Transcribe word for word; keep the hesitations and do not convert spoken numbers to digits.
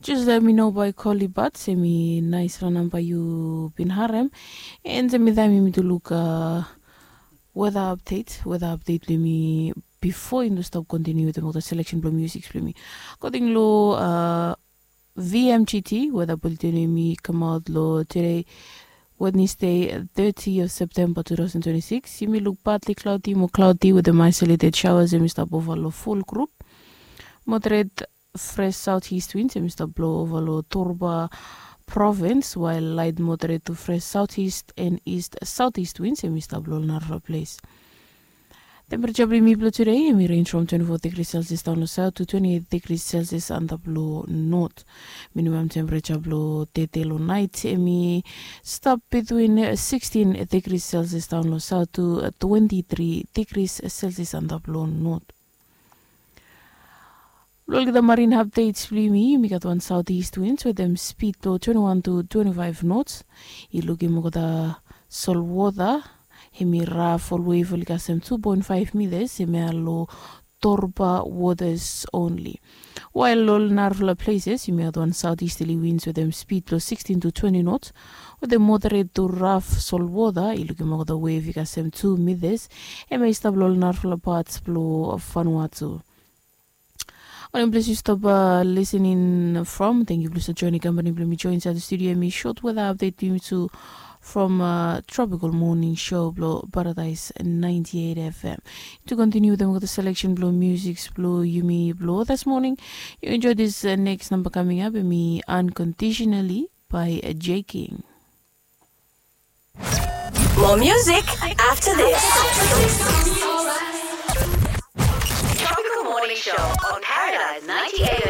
Just let me know by koli bat se mi nais ranam bai yu bin harem. En se mi taim yumi tu luk weda apdet weda apdet blong yumi bifo yumi stap kontiniu wetem olgeta seleksen blong musik blong yumi. Akoding long vmgt weda bulletin yumi kamaot long tude, Wednesday, thirty of September two thousand twenty-six, yumi luk partly cloudy mo cloudy wetem isolated showers em i stap ova long full group. Moderate fresh southeast winds em i stap blo ova long Torba province, while light moderate to fresh southeast and east southeast winds em i stap blo long narafala ples. Temperature blong yumi blong today em i range from twenty-four degrees Celsius daun long south to twenty-eight degrees Celsius antap long north. Minimum temperature blong tete long night em i stap between sixteen degrees Celsius daun long south to twenty-three degrees Celsius antap long north. Long olgeta marine updates blong yumi, yumi gat wan southeast winds wetem speed blong twenty-one to twenty-five knots. I lukim olgeta solwota em i raf ol wave oli kasem two point five meters em ya long Torba waters only. While long narafala places yumi gat wan southeasterly winds wetem speed blong sixteen to twenty knots wetem moderate to raf solwota. I lukim olgeta wave i kasem two meters em ya i stap long narafala parts blong Vanuatu. Wanem ples yu stap listening from? Thank yu blong stap joining company blong mi join inside the studio. Em i short weather update blong yumi tu from Tropical Morning Show blong Paradise ninety-eight F M. To continue wetem olgeta selection blong music blong yumi blong this morning, you enjoy this next number coming up, em i Unconditionally by J King. More music after this. Tropical Morning Show on Paradise ninety-eight